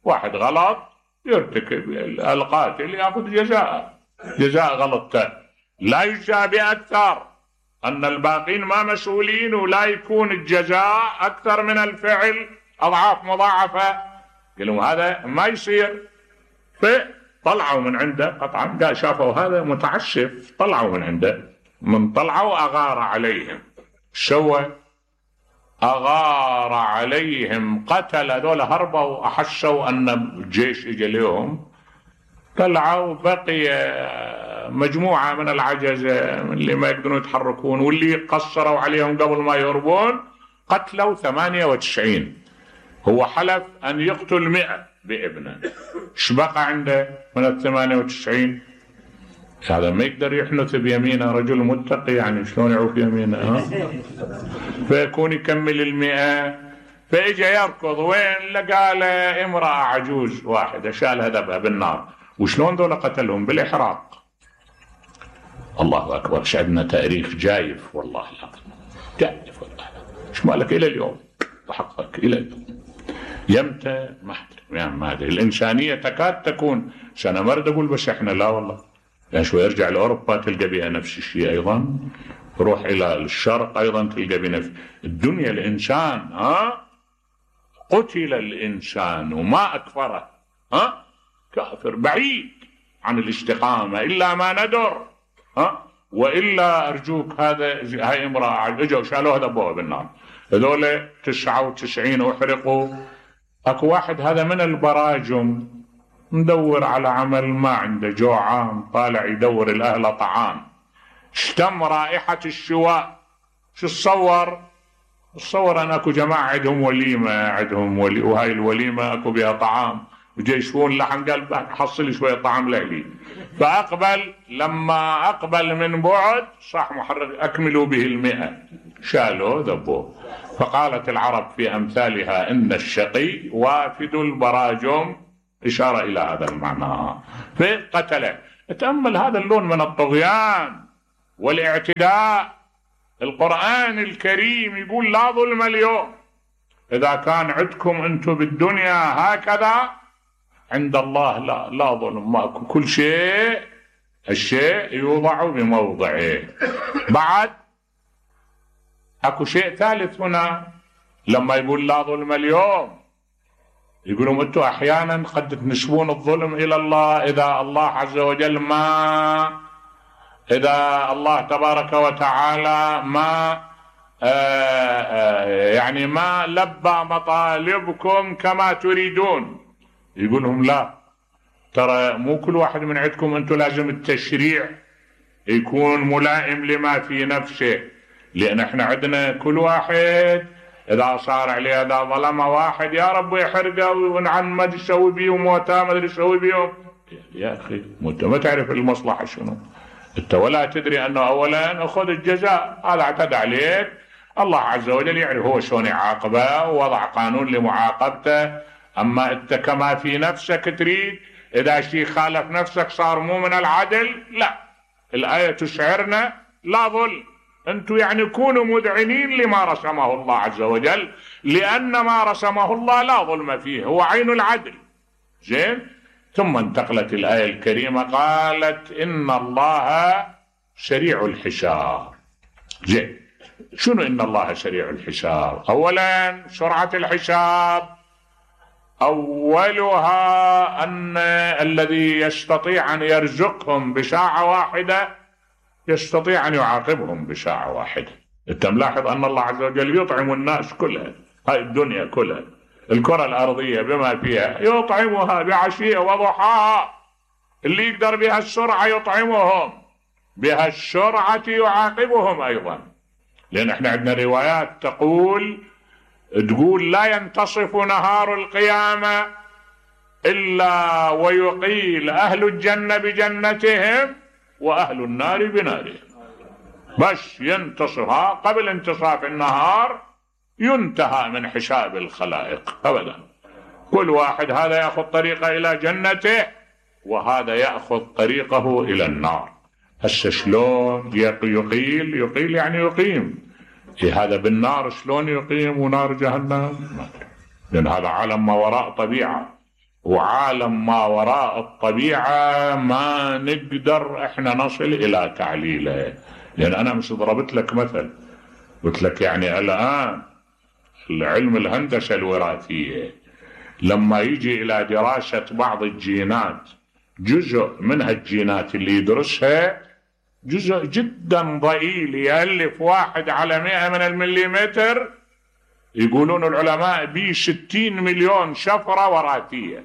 [SPEAKER 2] واحد غلط يرتكب القاتل يأخذ جزاء، جزاء غلطته لا يجزى بأكثر، أن الباقين ما مسؤولين ولا يكون الجزاء أكثر من الفعل أضعاف مضاعفة. قالوا هذا ما يصير. فطلعوا من عنده قطعا، قال شافوا هذا متعسف، طلعوا من عنده. من طلعوا أغار عليهم. سوى أغار عليهم، قتل هذول، هربوا أحسوا أن الجيش إجا لهم، طلعوا بقي مجموعة من العجزة من اللي ما يقدرون يتحركون، واللي قصروا عليهم قبل ما يهربون قتلوا ثمانية وتسعين. هو حلف أن يقتل مئة بابنه، ايش بقى عنده من الثمانية وتسعين؟ هذا ما يقدر يحنث بيمينه، رجل متقي يعني شلون يعوف يمينه؟ ها؟ فيكون يكمل المئة. فإجا يركض وين؟ لقى له امرأة عجوز واحدة شالها ذبها بالنار. وشلون ذولا قتلهم؟ بالإحراق. الله أكبر، شعبنا تاريخ جايف والله العظيم، جايف والله. ايش مالك إلى اليوم؟ وحقك إلى اليوم يمتى ما أدري يعني ما أدري. الإنسانية تكاد تكون، أنا ما أريد أقول بس إحنا، لا والله، يعني شوي يرجع لأوروبا تلقى بها نفس الشيء أيضا، روح إلى الشرق أيضا تلقى بنفس الدنيا. الإنسان ها قتل الإنسان وما أكفره، ها كافر بعيد عن الاستقامة إلا ما ندر، ها وإلا أرجوك. هذا هاي امرأة اجوا شالوها ذبوها بالنار، هذول تسعة وتسعين أحرقوا. أكو واحد هذا من البراجم ندور على عمل ما عنده، جوعان طالع يدور الأهل طعام، اشتم رائحة الشواء. شو تصور؟ تصور أن أكو جماعة عندهم وليمة، عندهم ولي، وهاي الوليمة أكو بها طعام، وجيشون لحم، قال حصل شوية طعام لعلي. فأقبل، لما أقبل من بعد صح محرك أكملوا به المئة، شالوا ذبوه. فقالت العرب في أمثالها إن الشقي وافد البراجم، إشارة إلى هذا المعنى. فقتله. تأمل هذا اللون من الطغيان والاعتداء. القرآن الكريم يقول لا ظلم اليوم. إذا كان عندكم أنتم بالدنيا هكذا، عند الله لا لا ظلم، ماكو، كل شيء الشيء يوضع بموضعه. بعد اكو شيء ثالث هنا، لما يقول لا ظلم اليوم يقولون انتم احيانا قد تنسبون الظلم الى الله، اذا الله عز وجل ما اذا الله تبارك وتعالى ما آآ آآ يعني ما لبى مطالبكم كما تريدون. يقول لهم لا، ترى مو كل واحد من عندكم انتم لازم التشريع يكون ملائم لما في نفسه، لان احنا عندنا كل واحد اذا صار عليه، اذا ظلم واحد يا رب يحرقه ونعم ما تسوي بيهم موتا ما ادري تسوي بيهم. يا اخي انت ما تعرف المصلحه شنو، انت ولا تدري انه اولا اخذ الجزاء، هذا اعتدى عليك، الله عز وجل يعرف هو شلون يعاقبه ووضع قانون لمعاقبته. اما انت كما في نفسك تريد، اذا شيء خالف نفسك صار مو من العدل، لا، الايه تشعرنا لا ظلم. انتم يعني كونوا مذعنين لما رسمه الله عز وجل، لان ما رسمه الله لا ظلم فيه، هو عين العدل. زين. ثم انتقلت الايه الكريمه قالت ان الله سريع الحساب. زين، شنو إن الله سريع الحساب؟ أولا سرعة الحساب أولها أن الذي يستطيع أن يرزقهم بساعة واحدة يستطيع أن يعاقبهم بساعة واحدة. أنت ملاحظ أن الله عز وجل يطعم الناس كلها، هاي الدنيا كلها، الكرة الأرضية بما فيها، يطعمها بعشية وضحاها. اللي يقدر بها السرعة يطعمهم، بها السرعة يعاقبهم أيضا. لأن احنا عندنا روايات تقول تقول لا ينتصف نهار القيامة إلا ويقيل أهل الجنة بجنتهم وأهل النار بنارهم. بس ينتصفها قبل انتصاف النهار ينتهى من حساب الخلائق أبدا. كل واحد هذا يأخذ طريقه إلى جنته وهذا يأخذ طريقه إلى النار. هسه شلون يقيل؟ يقيل يعني يقيم. إيه هذا بالنار شلون يقيم ونار جهنم؟ لأن هذا عالم ما وراء طبيعة، وعالم ما وراء الطبيعة ما نقدر احنا نصل إلى تعليله. لأن أنا مش ضربت لك مثل، قلت لك يعني الآن العلم الهندسة الوراثية لما يجي إلى دراسة بعض الجينات، جزء منها الجينات اللي يدرسها جزء جدا ضئيل يألف واحد على مئة من المليمتر، يقولون العلماء بي ستين مليون شفرة وراثية.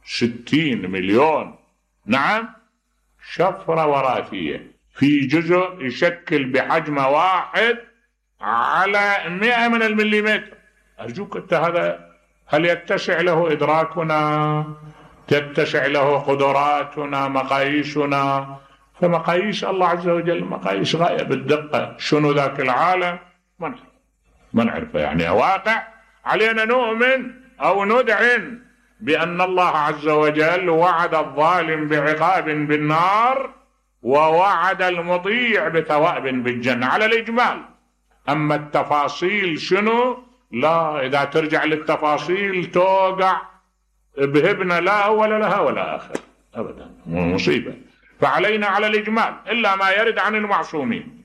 [SPEAKER 2] ستين مليون، نعم، شفرة وراثية في جزء يشكل بحجم واحد على مئة من المليمتر. أرجوك أنت هذا هل يتسع له إدراكنا؟ تتسع له قدراتنا؟ مقاييسنا؟ فمقاييس الله عز وجل مقاييس غاية بالدقة. شنو ذاك العالم؟ ما نعرف، ما نعرفه. يعني واقع علينا نؤمن أو ندعن بأن الله عز وجل وعد الظالم بعقاب بالنار ووعد المطيع بثواب بالجنة على الإجمال. أما التفاصيل شنو؟ لا، إذا ترجع للتفاصيل توقع بهبنا لا أول لها ولا آخر أبدا، مصيبة. فعلينا على الإجمال إلا ما يرد عن المعصومين.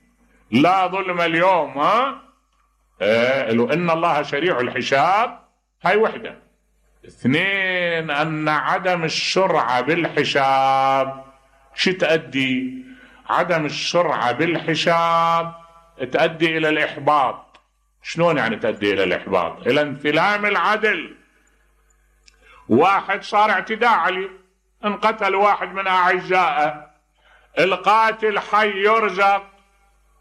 [SPEAKER 2] لا ظلم اليوم، ها إيه لو إن الله سريع الحساب، هاي وحدة. اثنين، أن عدم السرعة بالحساب شو تؤدي؟ عدم السرعة بالحساب تؤدي إلى الإحباط. شلون يعني تؤدي إلى الإحباط؟ إلى انفلام العدل. واحد صار اعتداء عليه، انقتل واحد من أعزائه، القاتل حي يرزق.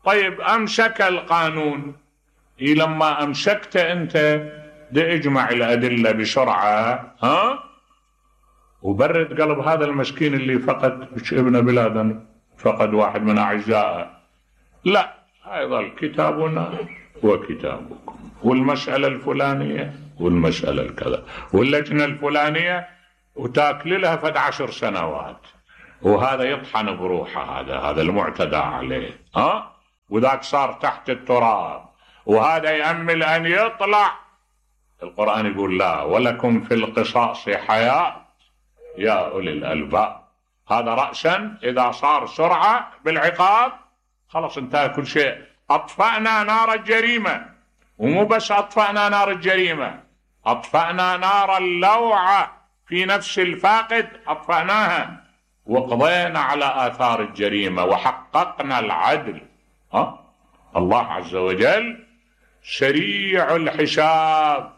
[SPEAKER 2] طيب أمسك القانون، إيه لما أمسكت أنت دي اجمع الأدلة بسرعة، ها، وبرد قلب هذا المسكين اللي فقد ابن بلادنا، فقد واحد من أعزائه. لا، هيظل كتابنا وكتابكم، والمسألة الفلانية والمسألة الكذا، واللجنة الفلانية، وتاكل لها فد عشر سنوات، وهذا يطحن بروحه، هذا هذا المعتدى عليه، ها، وذاك صار تحت التراب، وهذا يأمل أن يطلع. القرآن يقول لا، ولكم في القصاص حياة يا أولي الألباب. هذا رأسا إذا صار سرعة بالعقاب خلاص انتهى كل شيء. أطفأنا نار الجريمة، ومو بس أطفأنا نار الجريمة، أطفأنا نار اللوعة في نفس الفاقد، أطفأناها وقضينا على آثار الجريمة وحققنا العدل. ها؟ الله عز وجل سريع الحساب،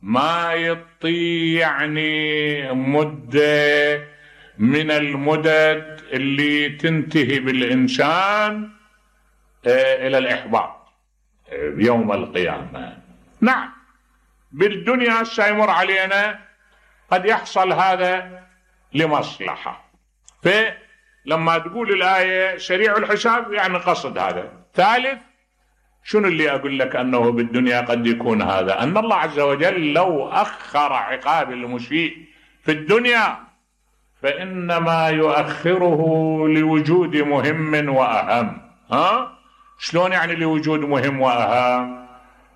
[SPEAKER 2] ما يطي يعني مدة من المدد اللي تنتهي بالإنسان إلى الإحباط يوم القيامة. نعم، بالدنيا سيمر علينا قد يحصل هذا لمصلحة، فلما تقول الآية سريع الحساب يعني قصد هذا. ثالث، شنو اللي أقول لك أنه بالدنيا قد يكون هذا؟ أن الله عز وجل لو أخر عقاب المسيء في الدنيا فإنما يؤخره لوجود مهم وأهم. ها؟ شلون يعني لوجود مهم وأهم؟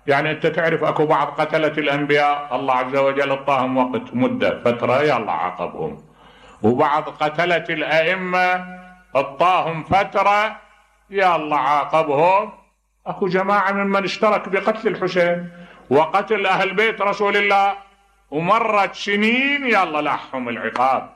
[SPEAKER 2] يعني أنت تعرف أكو بعض قتلة الأنبياء الله عز وجل اعطاهم وقت مدة فترة يلا عاقبهم، وبعض قتلة الأئمة اعطاهم فترة يا الله عاقبهم. أكو جماعة ممن اشترك بقتل الحسين وقتل أهل بيت رسول الله، ومرت سنين يلا لاحهم العقاب،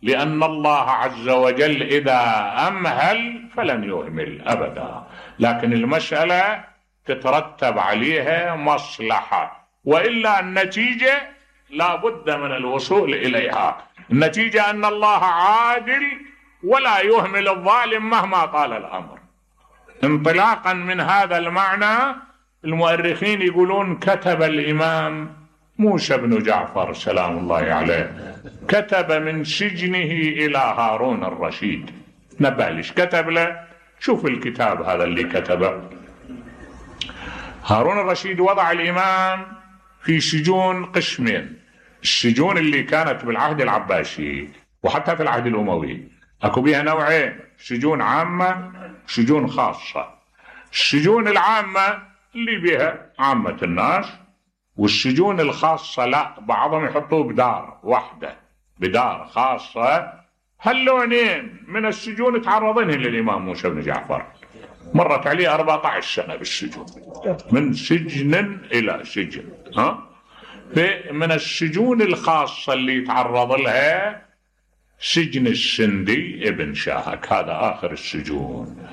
[SPEAKER 2] لأن الله عز وجل إذا أمهل فلن يهمل أبدا، لكن المسألة تترتب عليها مصلحة، وإلا النتيجة لا بد من الوصول إليها. النتيجة أن الله عادل ولا يهمل الظالم مهما طال الأمر. انطلاقا من هذا المعنى المؤرخين يقولون كتب الإمام موسى بن جعفر سلام الله عليه، كتب من سجنه إلى هارون الرشيد. نبالش كتب له، شوف الكتاب هذا اللي كتبه. هارون الرشيد وضع الإمام في سجون قسمين، السجون اللي كانت بالعهد العباسي وحتى في العهد الأموي أكو بها نوعين، سجون عامة سجون خاصة. السجون العامة اللي بها عامة الناس، والسجون الخاصة لا، بعضهم يحطوه بدار واحدة، بدار خاصة. هاللونين من السجون تعرضين للإمام موسى بن جعفر، مرت عليه أربعة عشر سنة بالسجون، من سجن إلى سجن. ها من السجون الخاصة اللي تعرض لها سجن السندي ابن شاهك، هذا آخر السجون.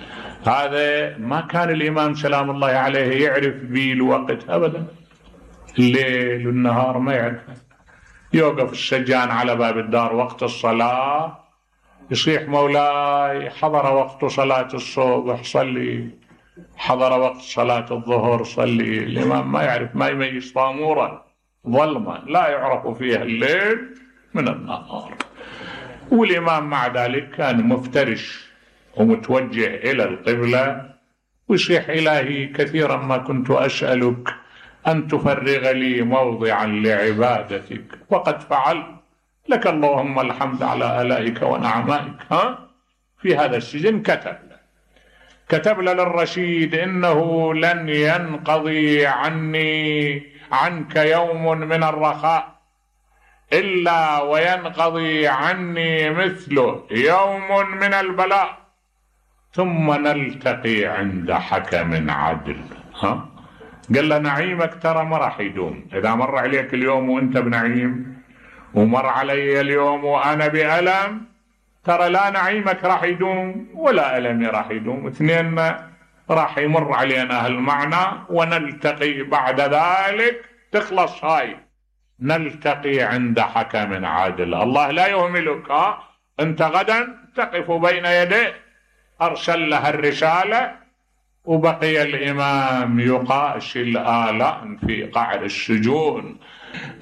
[SPEAKER 2] هذا ما كان الإمام سلام الله عليه يعرف به الوقت أبدا، الليل والنهار ما يعرفه. يوقف السجان على باب الدار وقت الصلاة يصيح مولاي حضر وقت صلاة الصبح صلي، حضر وقت صلاة الظهر صلي. الإمام ما يعرف، ما يميز، طامورة ظلمة لا يعرف فيها الليل من النهار. والإمام مع ذلك كان مفترش ومتوجه إلى القبلة ويصيح إلهي كثيرا ما كنت أسألك أن تفرغ لي موضعا لعبادتك وقد فعلت، لك اللهم الحمد على آلائك ونعمائك. ها في هذا السجن كتب كتب للرشيد إنه لن ينقضي عني عنك يوم من الرخاء إلا وينقضي عني مثله يوم من البلاء، ثم نلتقي عند حكم عدل. ها قال له نعيمك ترى ما راح يدوم، إذا مر عليك اليوم وأنت بنعيم ومر علي اليوم وأنا بألم، ترى لا نعيمك راح يدوم ولا ألمي راح يدوم، اثنين راح يمر علينا هالمعنى ونلتقي بعد ذلك تخلص هاي، نلتقي عند حكم عادل. الله لا يهملك، ها أنت غدا تقف بين يديه. أرسل لها الرسالة وبقي الإمام يقاشي الآلام في قعر السجون.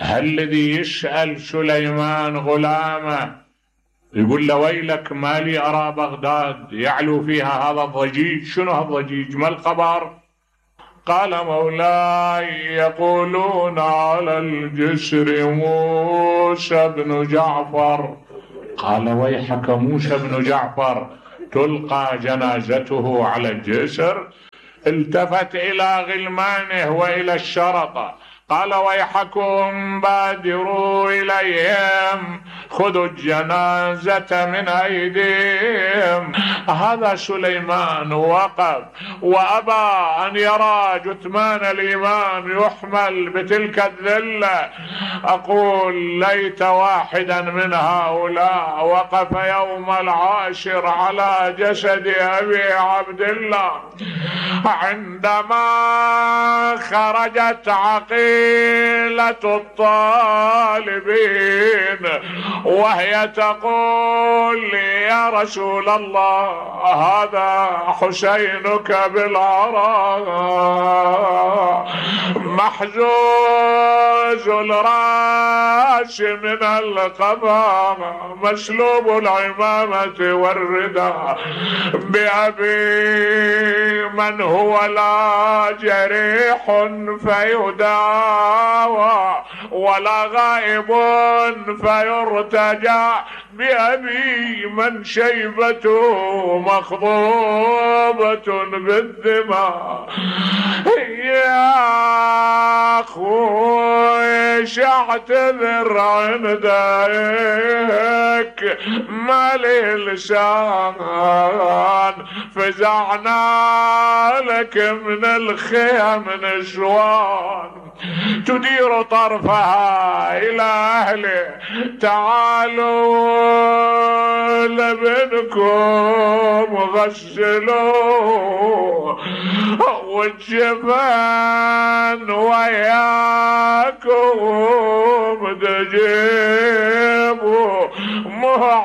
[SPEAKER 2] الذي يسأل سليمان غلامه يقول له ويلك ما لي أرى بغداد يعلو فيها هذا الضجيج، شنو هالضجيج ما الخبر؟ قال مولاي يقولون على الجسر موسى بن جعفر. قال ويحك موسى بن جعفر تلقى جنازته على الجسر؟ التفت إلى غلمانه وإلى الشرطة قال ويحكم بادروا إليهم خذوا الجنازة من أيديهم. هذا سليمان وقف وأبى أن يرى جثمان الإمام يحمل بتلك الذلة. أقول ليت واحدا من هؤلاء وقف يوم العاشر على جسد أبي عبد الله. عندما خرجت عقيل قيلة الطالبين وهي تقول لي يا رسول الله هذا حسينك بالعراء محزوز الراس من القبر مسلوب العمامة والرداء بأبي من هو لا جريح فيداوى ولا غائب فيرتجى بأبي من شيبته مخضوبة بالدماء. يا أخوي شاعتذر عندك ما لي لسان في وفزعنا لك من الخيم نشوان تدير طرفها إلى أهله. تعالوا لابنكم غسلوه والجبن وياكم دجيج